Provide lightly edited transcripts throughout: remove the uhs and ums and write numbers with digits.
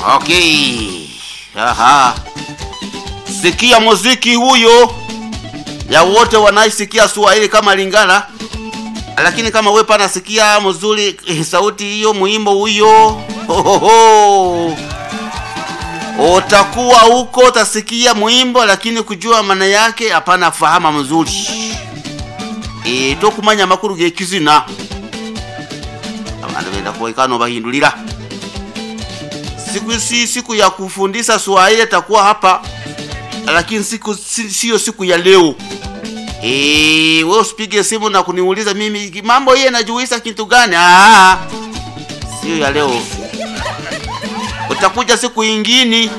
Okay. Aha. Sikia muziki huyo ya wote wanaisikia Swahili kama Lingala, lakini kama we pana sikia mzuri sauti hiyo muimbo huyo, hohoho, utakuwa huko utasikia mwimbo, lakini kujua maana yake hapana fahama mzuri. E, tokumanya makuru gekizina abantu benda kuwaikano bahindulira siku si siku ya kufundisha Swahili takuwa hapa, lakini siku siyo siku ya leo. Eh, wewe usipige simu na kuniuliza mimi mambo yeye najuisa kitu gani? Ah, sio ya leo. Utakuja siku ingine,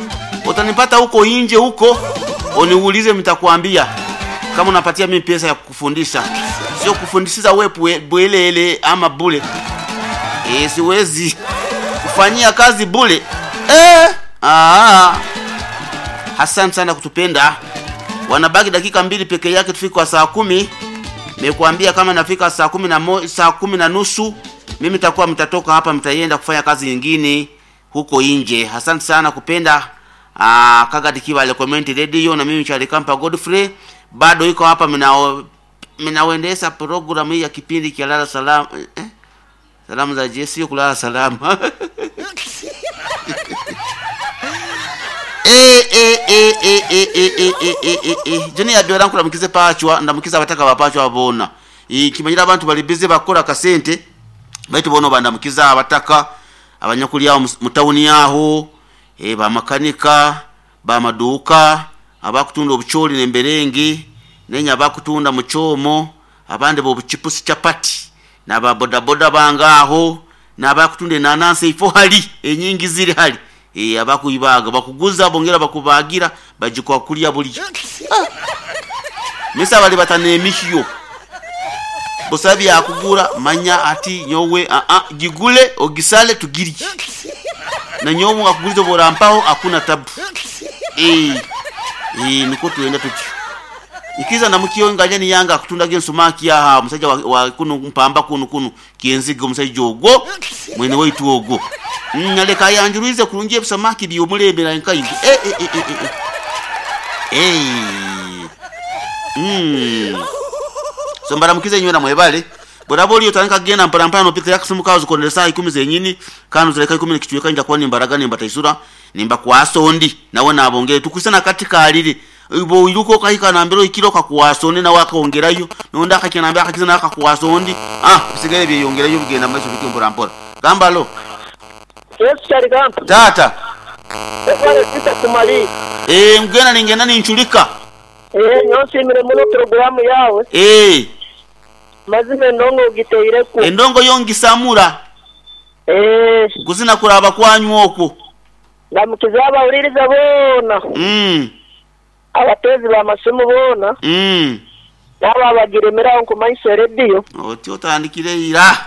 utanipata huko nje huko, uniulize, mtakwambia kama unapatia mimi pesa ya kukufundisha, sio kufundishiza wewe bwelele ama bule. Eh, siwezi kufanyia kazi bule. Eh, ah. Hassan sana kutupenda. Wanabaki dakika mbili peke yake tufike kwa saa 10. Nimekuambia kama nafika saa 10 na saa 10:30 mimi nitakuwa mtatoka hapa, mtaienda kufanya kazi nyingine huko nje. Asante sana kupenda Kagadi Kibale Comment Radio na mimi Charlie Kampa Godfrey bado iko hapa, minaoendesha programu hii ya kipindi cha lala salama, eh? Salamu za Jesi kulala salama. Joni yabyora nkulamukize pachwa ndamukiza abataka bapachwa bona kimanyira abantu bali busy bakora kasente baitu bono bandamukiza abataka abanyakuli aho mutawuni aho bamakanika bamaduka abakutunda obucholi nemberengi nenya abakutunda muchomo abandi bobuchipusi chapati naba bodaboda bangaho nabakutunda enanansi ifo hali enyingi ziri hali abakuibaga bakuguza bongera bakubagira bajikwa kulya buli misa bali batanemihyo busabi yakugura manya ati nyowe gigule ogisale tugiri na nyowe akuguliza borampaho akuna tabu niko tuenda tutyo ikiza namukiyo nganya ni yanga akutunda gensumaki aha musajja wa kuno mpamba kuno kuno kienzigo musajja ogwo mwene waitu ogwo naleka yanjuruize kurungi ebisamaki byomulembera nkaingi so mbaramukize nywena mwebale borabo oliyo tandika kugenda mpora mpora nopita yakasimu kawo zikondera saa 10 zenyini kano zireka 10 nikichweka nja kuba nimbaraga nimbataisura nimbakwasa ondi nawe nabongere tukusana kati kalire ibo iruko kahika nambero ikiro kakuwasa ondi nawe akongerayo nonda akakinambira akakiza nawe akakuwasa ondi bisigale byeyongerayo bigenda maiso bityo mpora mpora gambalo. Yesu Charlie Kampa. Tata. Efale sita kumali. Ngena ningena ninchulika. Nyonsimire muno programu yawe. Mazime ndongo giteireku. Endongo yongisamura. Kuzina kuraba kwanyu okwo. Ndamukiza abawuliriza bona. Abatezi b'amasimu bona. N'abo abagiremeraho nkumanyisa rediyo. Oti otandikire ira.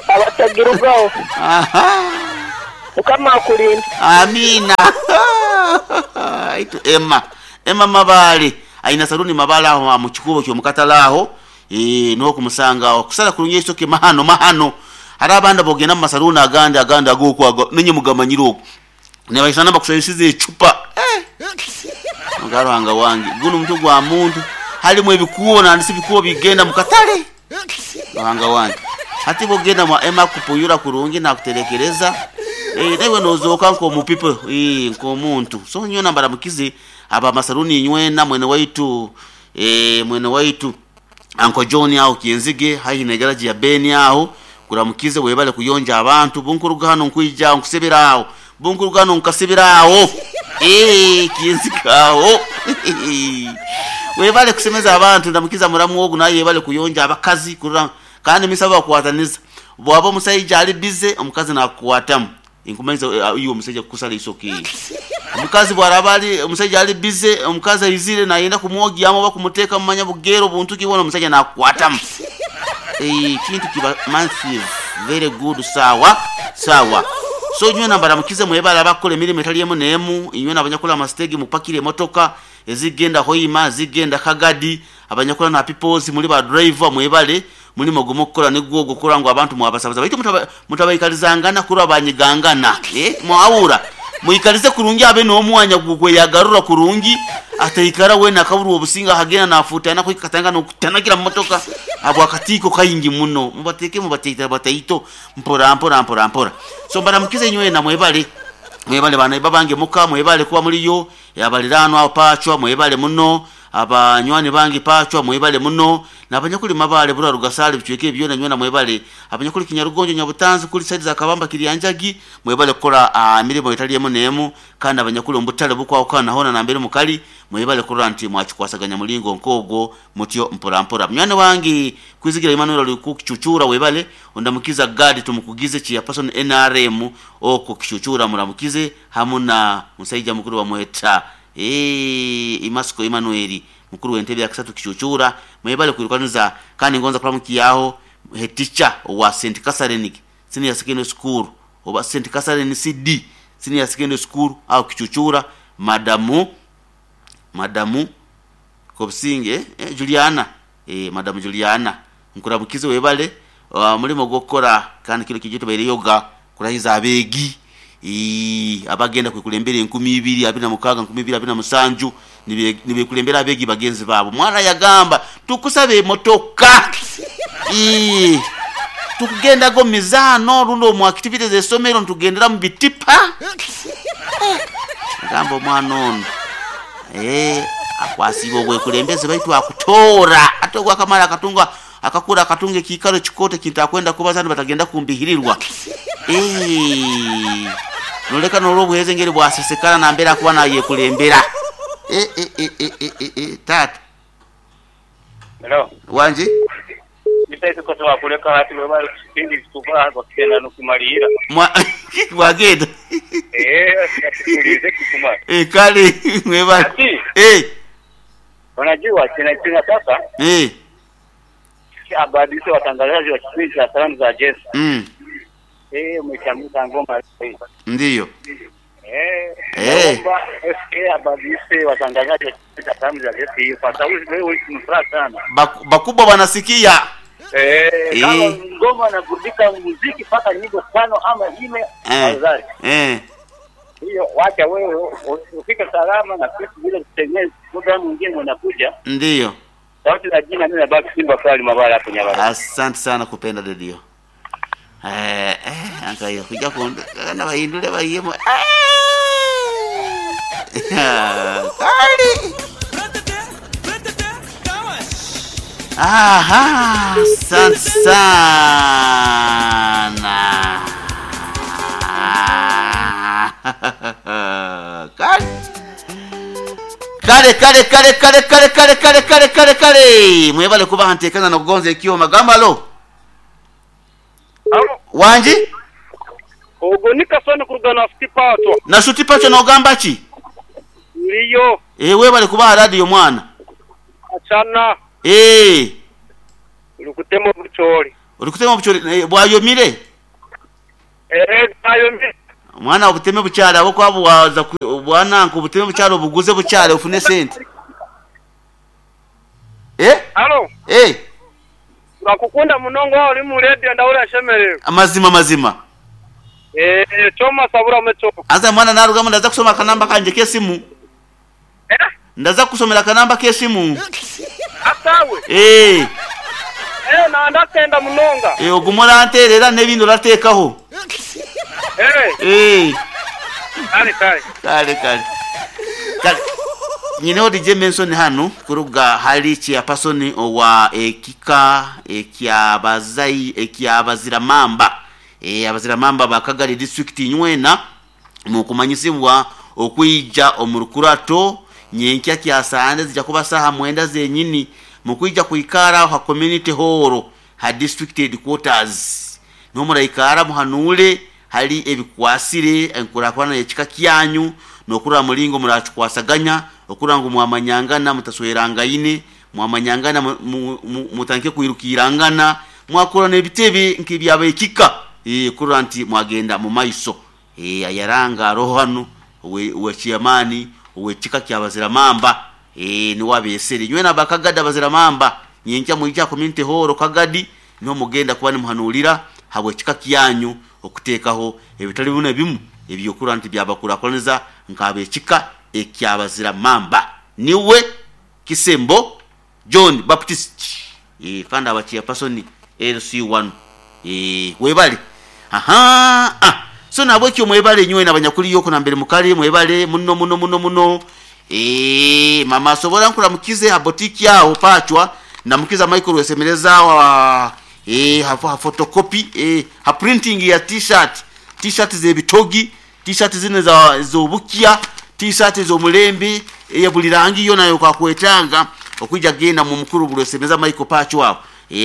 Abatagirugaho. Aha. Mukama akulinda. Amina. Itu Emma. Emma Mabale. Aina saluni Mabale aho mu kikubo kyo mukatala aho. No kumusanga aho. Kusala kulunye isoke mahano mahano. Hari abandi bogenda mu masaluni agandi agandi agokwaga nenye mugamanyiro okwo. Ne bayisana bakusayisize echupa. Mugarwanga wange. Guno mutwe gwa muntu. Halimu ebikubo na ndisi bikubo bigenda mukatale. Wanga wange. Hati bogenda mwa Emma kupuyura kurungi na kuterekereza. Newe nozoka nko mupipo nko muntu so nyo nambara mukize aba masaruni nywena mwene waitu mwene waitu Uncle John aho kienzige hayi ne garage ya Beni aho kuramukize webale kuyonja abantu bunkuruga hano nkuija nkusebera aho bunkuruga hano nkasebera aho kienzige aho webale kusemeza abantu ndamukiza muramu wogu naye yebale kuyonja abakazi kurura kandi misaba kuwataniza bwaba omusajja ali bize omukazi nakukwatamu inkumanyisa iyo omusajja kukusala isoke omukazi bwaraba ali omusajja ali bize omukazi aizire nayenda kumwogyamu oba kumuteeka mumanya bugero buntu ki bwona omusajja nakukwatamu kintu kiba massive very good sawa sawa so nywena mbaramukize mwebale abakola emirimu etali emu n'emu inywena abanyakola amasitegi mupakire emotoka ezigenda Hoima zigenda Kagadi abanyakola na peoples muri ba driver mwebale mulimo gumu okukola nigwo ogukora ngu abantu mwabasabaza baitu mutabaikalizangana kurwa banyigangana mwawura. Mwikalize kurungi abe n'omwanya gugweyagarura kurungi, ataikara wena akaburwa obusinga akagenda nafuutana kwikatanga n'okutanagira mu motoka habwakatiiko kaingi muno. Mubateeke mubateita bataito mpora mpora mpora mpora. So mbaramukize nywena mwebale. Mwebale bana babange muka, mwebale kuba muliyo, abaliraanwa pachwa mwebale muno, abanywani bange pachwa mwebale muno, n'abanyakuli mabale bura rugasale bicweke byona nywena mwebale, abanyakuli Kinyarugonjo Nyabutanzi kuli side za Kabamba Kiryanjagi mwebale kukora mirimo etali emu n'emu, kandi abanyakuli ombutale bukwawukana hona nambere mukali mwebale kurora nti mwakikwasaganya mulingo nkogwo mutyo mpora mpora. Munywani wange Kwizigira Emmanuel ali kukichuchura webale, ondamukiza Gadi tumukugize chia person NRM oko kichuchura muramukize hamu na musaija mukuru wa mweta Imasiko Emmanuel mukuru w'entebe ya kisatu kichuchura mwebale kwirukaniza. Kandi ngonza kulamukiyaho head teacher wa St Catherine Senior Secondary School oba St Catherine CD Senior Secondary School au kichuchura, madamu Kobsinge Juliana, madamu Juliana nkuramukize webale mulimo gwokora kandi kilo kijito baire yoga kurahiza abegi abagenda kwikulembera 2026 2027 nibekulembera abegi bagenzi babo. Mwana yagamba tukusabe emotoka tukugendago mizano rundo mu activities z'essomero ntugendera mu bitipa. Gamba omwana ono akwasibwa obwekulembeze baitu akutoora ate ogwakamala akatunga akakura akatunga ekiikaro kikote kintakwenda kubaza batagenda kumbihirirwa. Noleka nolwobuheze engeri bwasesekana nambera akuba nayekulembera. Tata. Hello. Wanje? Nitaisi kosa kuleka hati webali kipindi kitupa kwa kutenda nukumalira. Wagenda. Tulize kikumara. Kale mwebali. Unajua tena sasa. Abadilise watangazaji wa kipindi cha salamu za Yesu. Umechanguka ngoma hii. Ndiyo. Naomba SK abadilise watangazaji wa kipindi cha salamu za Yesu hiyo kwa sababu leo ni furaha sana. Bakubwa wanasikia. Kama ngoma na burudika muziki paka nyimbo 5 ama 4 afadhali. Hiyo wacha wewe ufike salama na sisi vile tutengeneze programu nyingine unakuja. Ndiyo. Sauti za jina mimi nabaki Simba Kali Mabala hapo Nyabara. Asante sana kupenda redio. Angalia kuja kuona bahindule bahiyemo. Kali. Aha, asante sana. Kali. Kale kale kale kale kale kale kale kale kale kale. Mwebale kuba ntekana na kugonza ekyo magamba lo. Wanji? Ogo nikasoni kurugana sutipato. Na sutipato na ogamba ki? Ndiyo. Webale kuba radio mwana. Achana. Ulikutema buchori. Ulikutema buchori bwayomire? Bwayomire. Mwana obuteme bukyala abo kwabuwaza bwana nko obuteme bukyala obuguze bukyala ofune sente. Halo. Urakukunda munongo uri mu radio ndawura shemerero. Amazima mazima. Choma sabura mecho. Aza mwana narugamo ndaza kusoma kanamba kanje kesimu. Ndaza kusomera kanamba kesimu. Atawe. Na ndakenda munonga. Ogumora nterera n'ebintu ratekaho. Kale kale. Kale kale. Kale. Nyine DJ Menson hano kuruga hali chia person owa ekika ekyabazai ekyabaziramamba. Abaziramamba bakagari district nywena mukumanyisibwa okuija omurukurato nyenkya kyasande zijja kuba saha 9 zenyini mukuija kuikara ha community hall ha district headquarters. Nomuraikara muhanule hali ebikwasire enkurakwana ekika kyanyu nokura mulingo murakikwasaganya okura ngu mwamanyangana mutaswerangaine mwamanyangana mutanke kwirukirangana mwakora nebitebe nkibyabekika kura nti mwagenda mu maiso ayaranga roho hano we chiamani we kika kyabaziramamba ni wabesere nywe nabakagada baziramamba nyenkya muija community hall kagadi niho mugenda kuba nimuhanulira habwe kika kyanyu okuteekaho ebitali bimu na bimu eby'okurora nti byabakurakuraniza nk'ab'ekika eky'abazira mamba. Niwe Kisembo John Baptist eeh kandi aba chairperson LC1 eeh webale ahaa ah so nahabwekyo mwebale inywena abanyakuli okwo nambere mukali mwebale muno muno muno muno eeh mama asobora nkuramukize ha boutique aho pachwa ndamukiza Michael Rwesemereza aho eeh ha photocopy eeh ha printing ya t-shirt t-shirt zebitogi T-shirt zinu ez'obukya, T-shirt ez'omulembe, eya buli rangi yoona y'okwakwetaaga okwija genda mu mukuru Rwesemeza Michael Pacho aho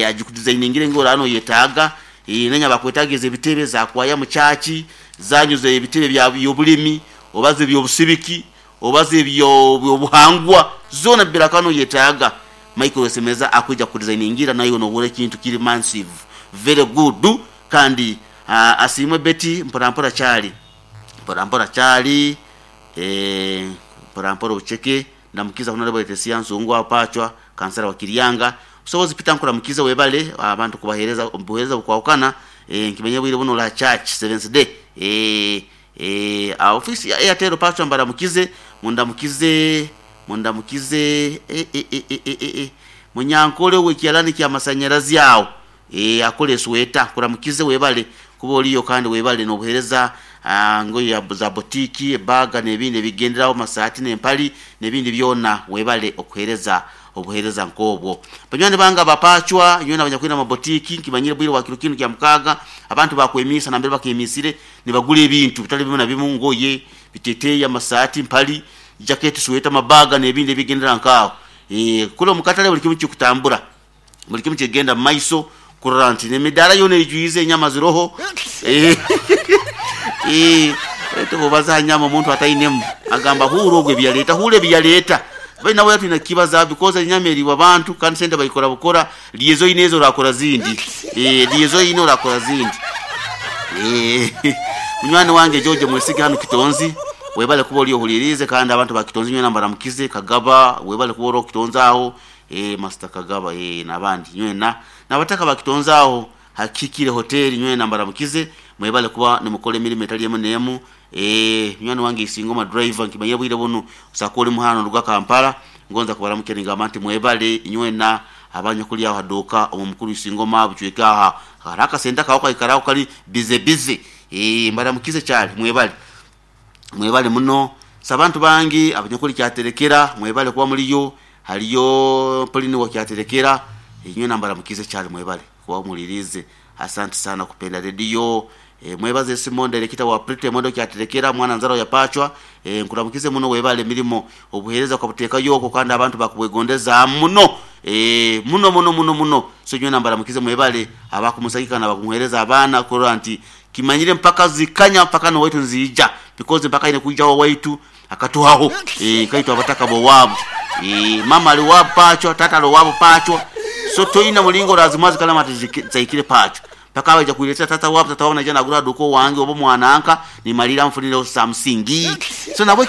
agikudizainingire ngu oraaba noyetaaga. Nanye abakwetaaga ez'ebitebe za kwaya mu church, zanyu ez'ebitebe by'obulimi oba z'eby'obusibiki oba z'ebyobuhangwa zoona birakaba noyetaaga Michael Rwesemeza akwija kukudizainingira naiwe nohurra ekintu kiri massive very good. Kandi asiimwe Betty mpora mpora kyali mpora mpora kyali eeh mpora mpora obuceke ndamukiza Honourable Leticia Nsungwa Pachwa kansara wa Kiryanga Busobozi Peter nkuramukize webale abantu kubahereza obuhereza obukwahukana eeh nkimanyire obwire bunu ori aha church Seventh Day eeh eeh office ya Airtel Pachwa mbaramukize mundamukize mundamukize eeh eeh eeh eeh Munyankole owekyalani kyamasanyarazi awo Eeh akora esweta nkuramukize webale kuba oriyo kandi webale nobuhereza ngoye za botiki, ebaga nebindi ebigenderaho amasaati nempali nebindi byona webale okuhereza obuhereza nkobwo. Banywani bange aba pachwa nyowe nabanyakwine amabotiki nkimanyire bwire bwa kiro kinu kya mukaaga abantu bakwemiisa nambere bakemiisire nibagura ebintu bitali bimu na bimu ngoye, biteteyi, amasaati, mpali, jaketi, sweta, amabaga nebindi ebigendera nkaaho. Eeh kule omukatale buli kimu kikutambura. Buli kimu kigenda mu maiso kurora nti n'emidaara yoona eijwize enyama ziroho. Baitu bw'obaza ha nyama omuntu atainemu agamba huura ogu ebi yaleeta, huura ebi yaleeta. Baitu nawe twine kukibazaho because enyama eriibwa abantu kandi sente baikora bukora, rya ezi oine ezi orakora zindi. Rya ezi oine orakora zindi. Munywani wange George Mwesige hanu Kitonzi, webale kuba ori ohuliiriize kandi abantu ba Kitonzi nywena mbaramukize. Kagaba webale kuba ori Kitonzi aho. Eeh Master Kagaba eeh nabandi nywena nabataka ba Kitonzi aho ha Kihikire Hotel nywena mbaramukize mwebale kuba nimukora emirimo etali emu nemu eeh munywani wange Isingoma driver nkimanyire obwire bunu osobola kuba ori muhanda noruga Kampala ngonza kubaramukya ningamba nti mwebale nywena abanyakuli aho ha duuka omu mukuru Isingoma bucweka aho hariho akasente kawe kaikara aho kari busy busy eeh mbaramukize kyali mwebale. Mwebale muno. So abantu bangi abanyakuli Kyaterekera mwebale kuba muliyo. Haliyo Pauline wa Kyaterekera, inywena mbaramukize kyali mwebale kuba muhuliriize. Asante sana kupenda rediyo. Mwebaze Simon Director wa Pretty Model Kyaterekera mwana nzarwa ya Pachwa. Nkuramukize muno webale emirimo obuhereza okabutekayo okwo kandi abantu bakubwegondeza muno. Muno muno muno muno. So inywena mbaramukize mwebale abakumusagika nabakumuhereza abaana kurora nti Kimanyire mpaka zikanya mpaka n'owaitu niziija because mpaka aine kwija owaitu akatuhaho eeh nkaitwe abataka b'owaabu eeh mama ali owaabu paachwa taata ali owaabu paachwa so toine muringo orazimuha zikarema tizihikire paachwa mpaka baija kwiretera taata waabu taata waabu naija nagura aha duuka owange oba omwananka nimariira nfunireho samusingi so nabwe.